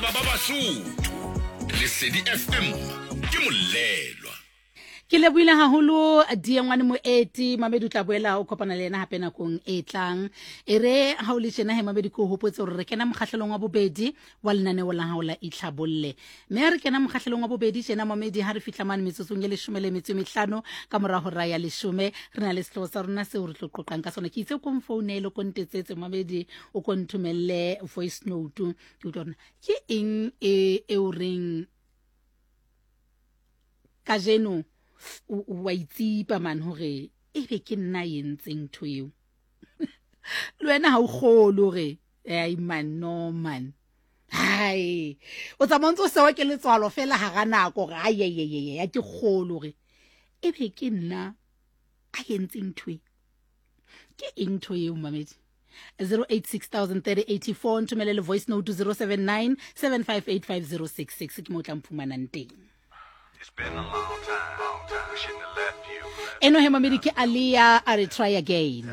Ba Basotho, Lesedi FM ke molelwa. Ke lebohile haholo Diengwane Moeti. Mamedi o tla boela o kopana le yena hape nakong e tlang. E re ha o le tjena he Mamedi, ke o hopotse hore re kena mokgahlelong wa bobedi wa lenaneo la hao la Itlhabolle. Mme ha re kena mokgahlelong wa bobedi tjena Mamedi, ha re fihla mane metsotsong e leshome le metso e mehlano ka mora hora ya leshome, re na le sehlooho sa rona seo re tlo qoqang ka sona. Ke itse o ko mfounele, o ko ntetsetse Mamedi, o ko nthomelle voice note. Ke utlwa hore ke eng e e o reng kajeno wa itsipa man hore ebe ke nna entseng ntho eo. Le wena ha o kgolo hore ai man, no man, hai o tsamaya ntse o sewa ke letswalo fela hara nako hore ai ai ai ai ke kgolo hore ebe ke nna a entseng ntho e. Ke eng ntho eo mamedi? 08603084 nthomele le voice note 079 7585066 ke mo tla mphumanang teng. Eno he mamedi ke Alia a re try again.